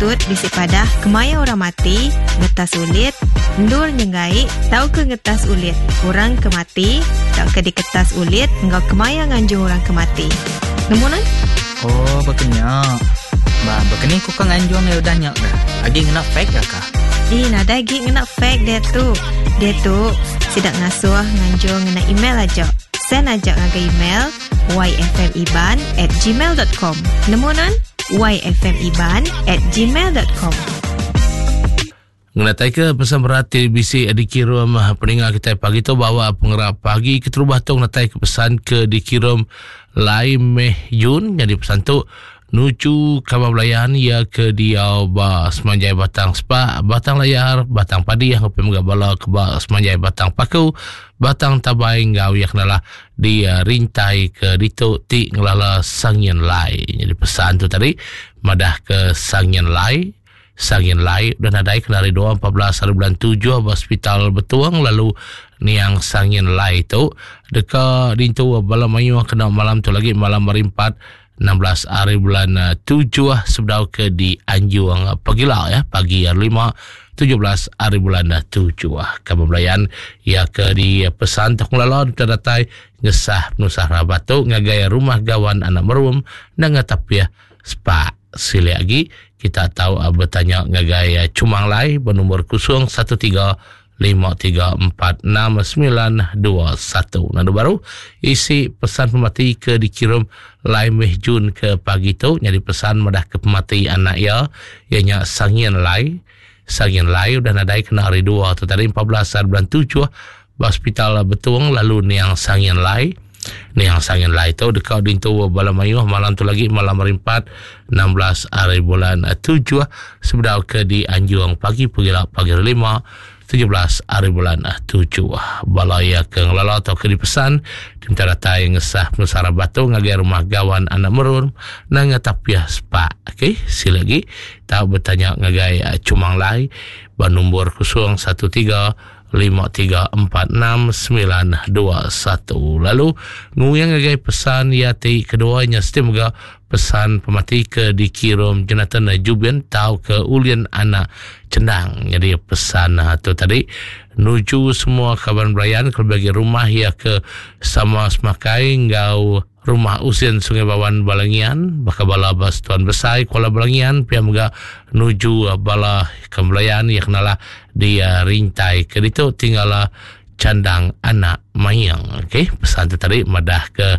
patut bisi padah kemaya orang mati, ngetas ulit, endur nyenggai tauka ngetas ulit orang ke mati tauka diketas ulit enggau kemaya nganjung orang ke mati. Nemu nuan? Oh, baka nya. Ba, baka ni ku ka nganjung iya udah nya kah? Agi ngena fax ga kah? Ih, nadai agi ngena fax diatu. Diatu, sida ngasuh nganjung ngena email aja. Send aja ngagai email yfmiban at gmail dot com. Nemu nuan? yfmiban at gmail dot com. Ngenataika pesan berat ti bisi dikirum peninga kitai pagi tu bawa pengerap pagi keterubah tu ngenataika pesan ke dikirum Lai Meh Yun nyadi pesan tu nuju kaban belayan iya ke diau ba semanjai Batang Spak, Batang Layar, Batang Padi enggau pia mega bala ke ba semanjai Batang Paku, Batang Tabai enggau iya kenalah di rintai ke ditu ti ngelala Sangin Lai. Nyadi pesan tu tadi madah ke Sangin Lai Sangin Lai udah nadai kena hari dua 14 hari bulan tujuh ba Hospital Betong lalu niang Sangin Lai tu deka dintu bala mayuh kena malam tu lagi malam hari empat 16 hari bulan eh, tujuh sebedau ke di Anjung pagila ya pagi hari lima 17 hari bulan eh, tujuh. Kaban belayan ya ke di pesan tok ngelala deka datai ngesah penusah rabat tu ngagai rumah gawan anak merum nanga tapih Spak. Silik agi, kita tau betanya ngagai Chumang Lai benumbur 013 5346921. Nandu baru, isi pesan pemati ke dikirum Lai Meh Jun ke pagi tu nyadi pesan madah ke pemati anak iya, iya nya Sangin Lai. Sangin Lai udah nadai kena hari dua tu tadi 14 hari bulan 7 ba Hospital Betong lalu niang Sangin Lai. Niang Sangin Lai tu deka dintu bala mayuh malam tu lagi malam hari 4 16 hari bulan 7 sebedau ke dianjung pagi pegila pagi hari 5 17 hari bulan 7. Bala iya ke ngelala atau ke dipesan diminta datai ngesah penusah rabat tu ngagai rumah gawan anak merun nanga tapiah sepak. Okey, sila lagi tau betanya ngagai Chumang Lai ba nombor 013 5346921. Lalu nguyang ngagai pesan iya ti kedua nya siti mega pesan pemati ke dikirum Jonathan Jubin tau ke Ulin anak Chendang. Jadi pesan ah, tu tadi nuju semua kaban belayan kelebih agi rumah iya ke sama semakai enggau Rumah Usin Sungai Bawan Balangian baka bala ba Setuan Besai Kuala Balangian pia mega nuju bala ke belayan iya kenalah di rintai ke ditu tinggala Chandang Anak Maing. Okey, pesan tu tadi madah ke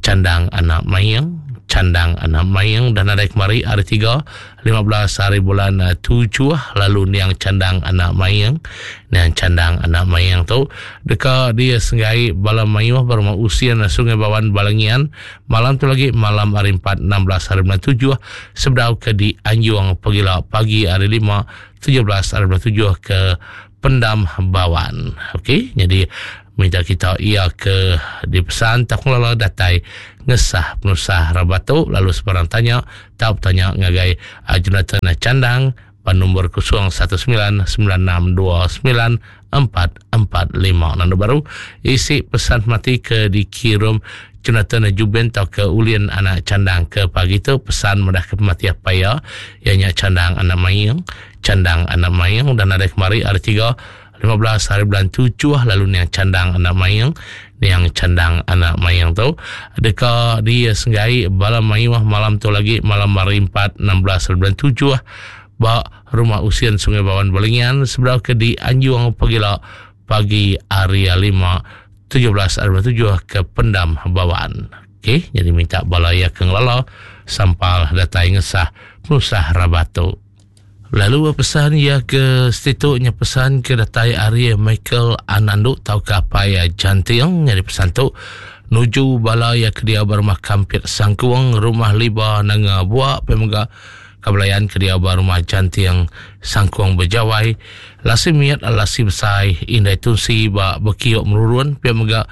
Chandang Anak Maing. Chandang Anak Maing dah nadai kemari hari 3 15 hari bulan 7 lalu niang Chandang Anak Maing. Niang Chandang Anak Maing tu deka disenggai bala mayuh ba rumah Usin Sungai Bawan Balangian malam tu lagi malam hari 4 16 hari bulan 7 sebedau ke dianjung pagila pagi hari 5 17 hari bulan 7 ke Pendam Bawan. Okey, jadi minta kita ia ke dipesan tak ngelala datai ngesah penusah rabat tu lalu sebarang tanya tau betanya ngagai Jonathan Chandang ba nombor 0199629445. Nandu baru isi pesan mati ke dikirum Jonathan Jubin tau ke Ulin anak Chandang ke pagi tu pesan madah ke pemati apai iya iya nya Chandang anak Maing. Chandang anak Maing udah nadai kemari hari 3 15 hari bulan 7 lalu niang Chandang anak Maing niang Chandang anak Maing tu deka disenggai bala mayuh malam tu lagi malam hari 4 16 hari bulan 7 ba Rumah Usin Sungai Bawan Balingian sebedau ke dianjung pagila pagi hari 5 17 hari bulan 7 ke Pendam Bawan. Okey, jadi minta bala iya ke ngelala sampal datai ngesah penusah rabat tu. Lalu pesan iya ke setitu nya pesan ke datai ari Michael Anandu tauka apai Janting nyadi pesan tu nuju bala iya ke diau ba rumah Kampit Sangkung, Rumah Liba Nanga Bua pia mega ka belayan ke diau ba rumah Janting Sangkung Bejawai, Lasi Mit Lasi Besai Indai Tunsi ba Bekiok Merurun pia mega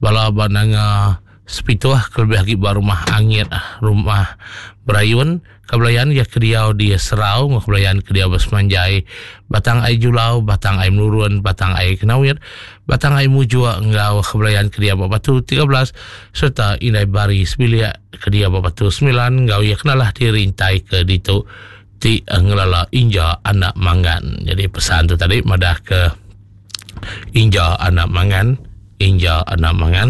bala ba Nanga Sepituh kelebih agi ba Rumah Angit Rumah Berayun. Kebelayan iya ke diau di Serau enggau kebelayan ke diau ba Semanjai, Batang Ai Julau, Batang Ai Menurun, Batang Ai Kenawit, Batang Ai Mujuk enggau kebelayan ke diau ba Batu 13 sereta Indai Bari sebilik ke diau ba Batu 9 enggau iya kenalah dirintai ke ditu. ti ngelala Inja anak Mangan. Jadi pesan tu tadi madah ke Inja anak Mangan, Inja anak Mangan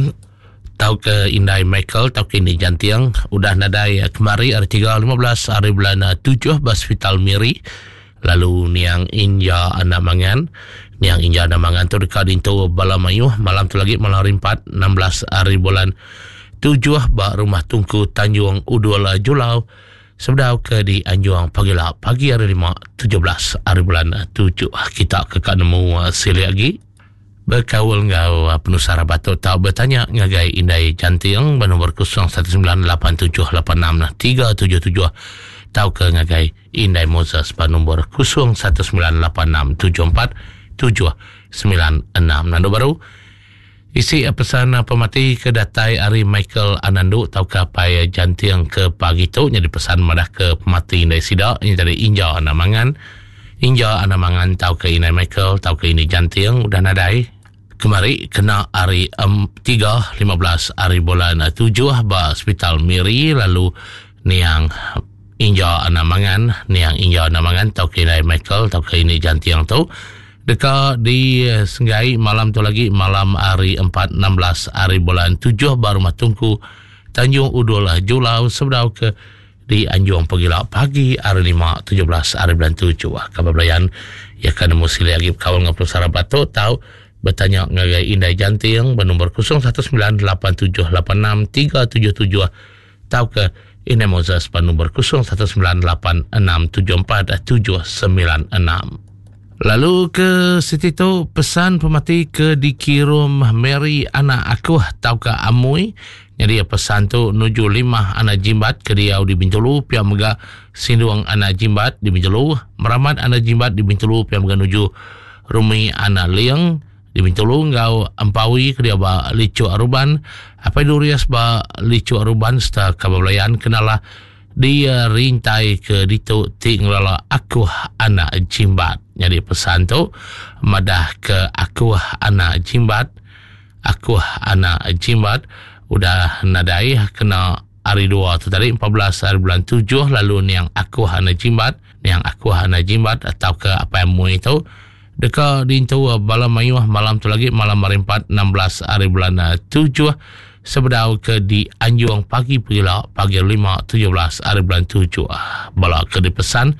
tauka indai Michael tauka indai Janting udah nadai kemari hari 3 15 hari bulan 7 ba Hospital Miri lalu niang Inja anak Mangan niang Inja anak Mangan tu deka dintu bala mayuh malam tu lagi malam hari 4 16 hari bulan 7 ba rumah Tungku Tanjung Udul Julau Sebedau ke di Anjuang pagila pagi hari 5 17 hari bulan 7 kita ke ka nemu uh, silik agi bekaul enggau uh, penusah rabat tu tau betanya ngagai Indai Janting ba nombor 0198786377 tauka ngagai Indai Moses ba nombor 0198674796 nandu baru Isi pesan pemati ke datai ari Michael Anandu tauka apai Janting ke pagi tu nyadi pesan madah ke pemati indai sida nya tadi Inja Anak Mangan. Inja Anak Mangan tauka indai Michael tauka indai Janting udah nadai kemari kena hari 3 15 hari bulan 7 ba Hospital Miri lalu niang Inja Anak Mangan niang Inja Anak Mangan tauka indai Michael tauka indai Janting tu Deka disenggai malam tu lagi malam hari 4 16 hari bulan 7 ba Rumah Tungku Tanjung Udul Julau sebedau ke di Anjung Pegila pagi hari 5 17 hari bulan 7. Kabar belayan ya kan nemu silik agi bekaul dengan penusah rabat tu tau bertanya ngagai Indai Janting bernombor 0198786377 tauka Indai Moses ba nombor 0198674796. Lalu ke siti tu pesan pemati ke dikirum Mary anak akuh tauka Amui. Nyadi pesan tu nuju limah anak jimbat ke diau di Bintulu pia mega Sindung anak jimbat di Bintulu, Meramat anak jimbat di Bintulu pia mega nuju Rumi anak Ling di Bintulu enggau Empawi ke diau ba Lichuk Aruban, Apai Durius ba Lichuk Aruban serta Kaban Belayan kenalah Di rintai ke ditu ti ngelala akuh anak jimbat. Nyadi pesan tu madah ke akuh anak jimbat, akuh anak jimbat udah nadai kena hari dua tu tadi 14 hari bulan 7 lalu niang akuh anak jimbat, niang akuh anak jimbat tauka apai amui tu deka diintu bala mayuh malam tu lagi malam hari 4 16 hari bulan 7 sebedau ke dianjung pagi pegila pagi 5 17 hari bulan 7 bala ke dipesan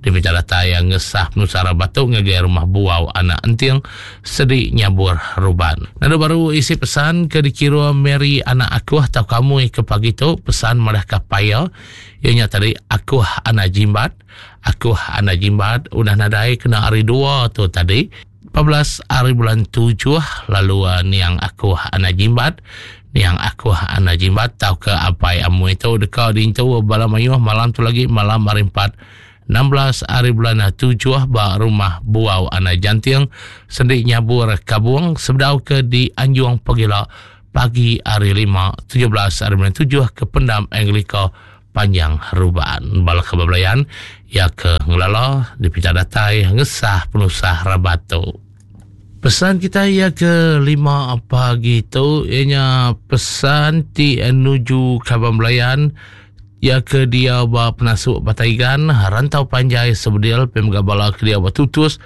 diminta datai yang ngesah penusah batu ngagai rumah buau anak enting sedi nyabur ruban. Lalu baru isi pesan ke dikira Mary anak aku atau kamu ke pagi tu pesan madah ke paya ianya tadi aku anak jimbat Aku anak jimbat udah nadai kena hari dua tu tadi 14 hari bulan 7 lalu uh, niang aku anak jimbat niang aku anak jimbat tau ke apai amu itu deka diintu bala mayuh malam tu lagi malam hari 4 16 hari bulan 7 ba rumah Buau Anak Janting sendik nyabur kabung sebedau ke di Anjung Pegila pagi hari 5 17 hari bulan 7 ke pendam Anglika Panjang Ruban. Bala ke bebelayan iya ke ngelala dipinta datai ngesah penusah rabat tu. Pesan kita iya ke lima pagi tu iya nya pesan ti nuju kaban belayan iya ke diau ba penasuk Bataigan, Rantau Panjai Sebedil pia mega bala ke diau ba Tutus,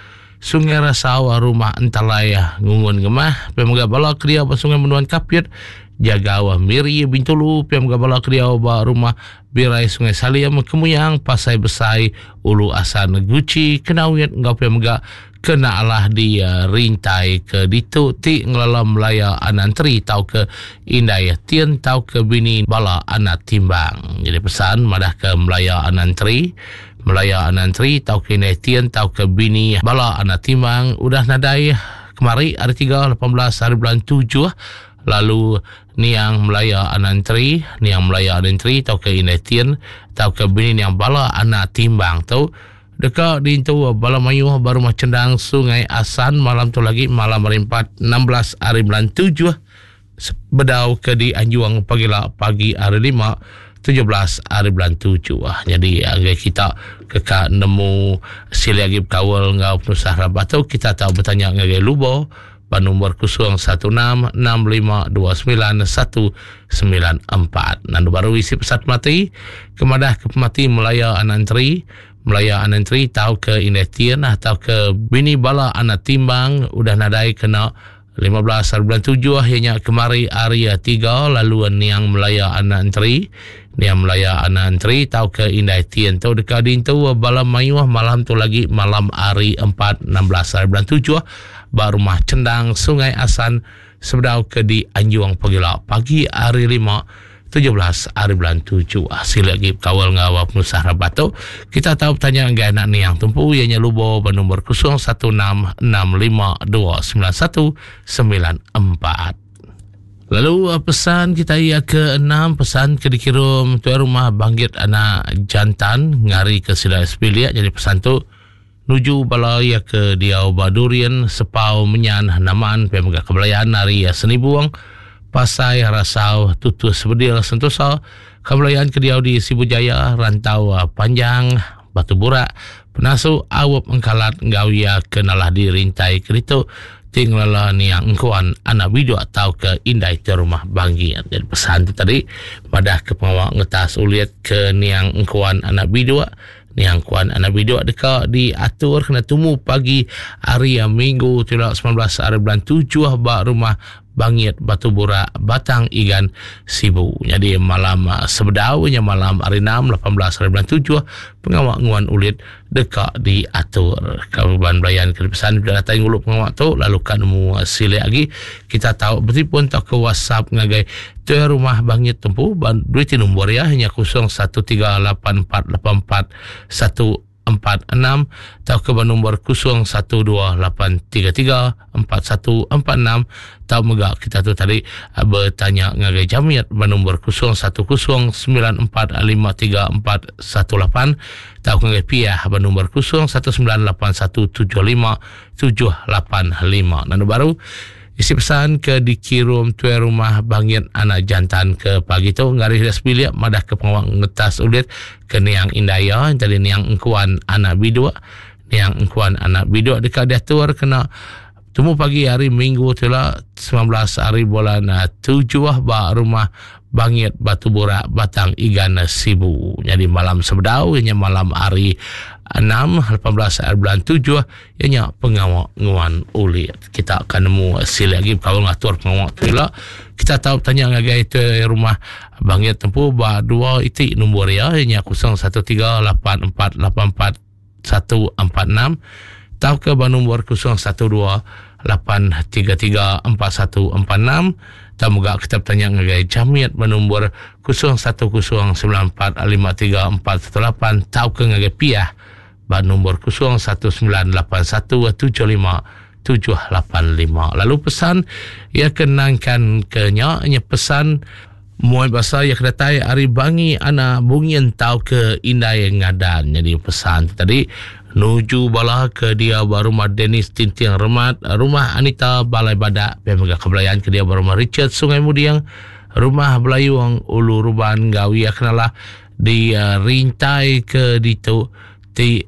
Sungai Rasau, Rumah Entalai Ngungun Ngemah pia mega bala ke diau ba Sungai Menduan Kapit, Jagau Miri Bintulu pia mega bala ke diau ba Rumah Birai Sungai Salim Kemuyang Pasai Besai Ulu Asan Guchi Kenawit enggau pia mega kena alah di eh, rintai ke ditu ti ngelala Melaya Anantri tauka indai Tien tauka bini bala anak timbang. Jadi pesan madah ke Melaya Anantri Melaya anak enteri tauka indai Tien tauka bini bala anak Timang udah nadai kemari hari 3 18 hari bulan 7 lalu niang Melaya anak enteri niang Melaya anak enteri tauka indai Tien tauka bini niang bala anak Timbang tu deka diintu bala mayuh ba rumah chendang Sungai Asan malam tu lagi malam hari 4 16 hari bulan 7 Sebedau ke dianjung pagila pagi hari lima 17 hari bulan 7. Jadi agai kita ke ka nemu silik agi bekaul enggau penusah rabat tu kita tau betanya ngagai Lubo ba nombor 0166529194. Nandu baru isi pesat mati ke madah ke pemati Melaya anak enteri. Melaya anak entri tauka indai Tien tauka bini bala anak Timbang udah nadai kena 15 hari bulan tujuh iya nya kemari hari tiga lalu niang Melaya anak entri niang Melaya anak entri tauka indai Tien tu deka diintu bala mayuh malam tu lagi malam hari empat 16 hari bulan tujuh ba rumah Chendang Sungai Asan sebedau ke dianjung pagila pagi hari lima 17 hari bulan 7. Sila lagi bekawal enggau penusah rabat tu. Kita tau betanya enggai anak niang tumpu iya nya Lubo ba nombor 0166529194. Lalu pesan kita iya ke enam pesan ke dikirum tuai rumah Banggit anak jantan ngari ke sida sebilik jadi pesan tu nuju bala iya ke diau ba Durin, Sepau, Menyan, Naman, pia mega Kebelayan ari Senibung, Pasai, Rasau, Tutus, Bedil, Sentosa, Kebelayan ke diau di Sibu Jaya, Rantau Panjang, Batu Burak, Penasu, Aup, Engkalat enggau iya ke nalah di Rintai ke ditu ti ngelala niang engkuan anak biduk tauka indai ti rumah Banggit. Jadi pesan tu tadi madah ke pengawa ngetas ulit ke niang engkuan anak biduk Niang Kuan anak biduk deka diatur kena tumu pagi hari Minggu tu ila 19 hari bulan 7 ba rumah Bangit Batu Burak Batang Igan Sibu. Jadi malam sebedau nya malam hari 6 18 hari bulan 7 pengawa nguan ulit deka diatur. Kaban belayan ke dipesan bila datai ngulu pengawa tu lalu ka nemu silik agi kita tau betipun tauka WhatsApp ngagai Tuai rumah Bangit tempu ba duit ti nombor iya nya 0138484146 tauka ba nombor 0128334146 tau mega kita tu tadi betanya ngagai Jamit ba nombor 0109453418 tauka ngagai Piah ba nombor 0198175785. Nanu baru Isi pesan ke dikirum tuai rumah Bangit anak jantan ke pagi tu ngaris dia sebilik madah ke pengawa ngetas ulit ke niang indai iya jadi niang engkuan anak biduk niang engkuan anak biduk deka diatur kena tumu pagi hari minggu tu la 19 hari bulan 7 eh, ba rumah Bangit Batu Burak Batang Igan Sibu. Jadi malam sebedau ianya malam hari 6 18 hari bulan 7 Iya nya pengawa nguan ulit. Kita akan nemu silik agi bekaul ngatur pengawa tu ila. Kita tau betanya ngagai tuai rumah Bangit tempu ba dua iti nombor iya iya nya 0138484146 tauka ba nombor 0128334146 tau mega kita betanya ngagai Jamit ba nombor 0109453418 tauka ngagai Piah ba nombor 0198175785. Lalu pesan iya ke nangkan ke nya nya pesan muai basa iya ke datai ari Bangi anak Bungin tau ke Indai Ngadan. Jadi pesan tu tadi nuju bala ke dia ba rumah Dennis Tinting Remat, rumah Anita Balai Badak, pia mega ke belayan ke dia ba rumah Richard Sungai Muding, rumah Belayung Ulu Ruban enggau iya kenalah di rintai ke ditu ti.